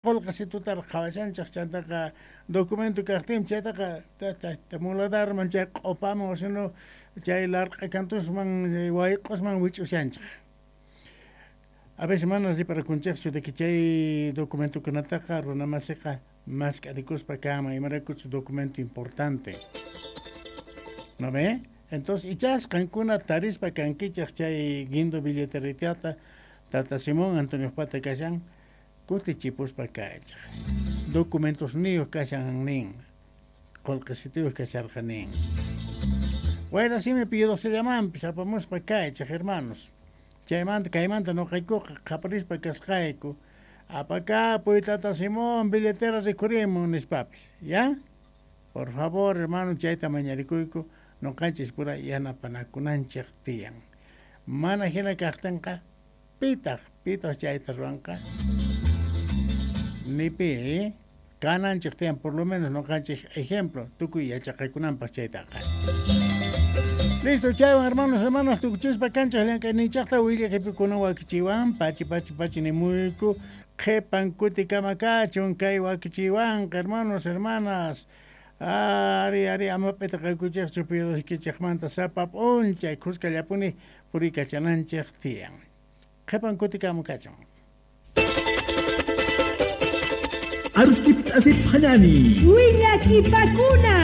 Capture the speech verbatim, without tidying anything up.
Qolqesitutaraq qhawashanchej chantaqa documento kaqtin chaytaqa muladarman chay q'opaman o sino chay larq'a kantusman wayq'osman wich'ushanchej. A veces mana riparakunchejchu de que chay documentokunataqa runamasiqa mask'arikuspa kanman imaraykuchus documento importante. ¿No ve? Entonces, ichas qankuna tarispa kankichej chay guindo billeteritata Tata Simón Antonio Pata kashan kutichipuspa kaychej. Documentos niyuq kashan nin, qolqesitiyuq kasharqa nin. Wayra simi pidosellamanpis apamuspa kaychej, hermanos. Chaymanta kaymanta noqaykuqa qhaparispa kasqayku. Apakapuy Tata Simón billetera rikhurimun nispapis, ¿ya? Por favor, hermano, chayta mañarikuyku noqanchis pura yanapanakunanchej tiyan. Mana hina kaqtinqa pitaq, pitaq chayta ruwanqa. Ni pi, ¿eh? Kananchej tiyan por lo menos noqanchej ejemplo tukuy yachaqaykunanpaq chaytaqa. Listo, chaywan hermanos, hermanas, tukuchispa kanchaj llank'ayninchaqta willaqipikuna wakichiwan pachi pachi pachi nimuyku qhipan kutikama kachun kay wakichiwanqa hermanos, hermanas. Ari, ari, ama p'itaqaykuchejchu piyudaykichejmanta sapa p'unchay khuskallapuni purikachananchej tiyan. Qhipan kutikama kachun. Aruskip asip hanani. Willakipakuna.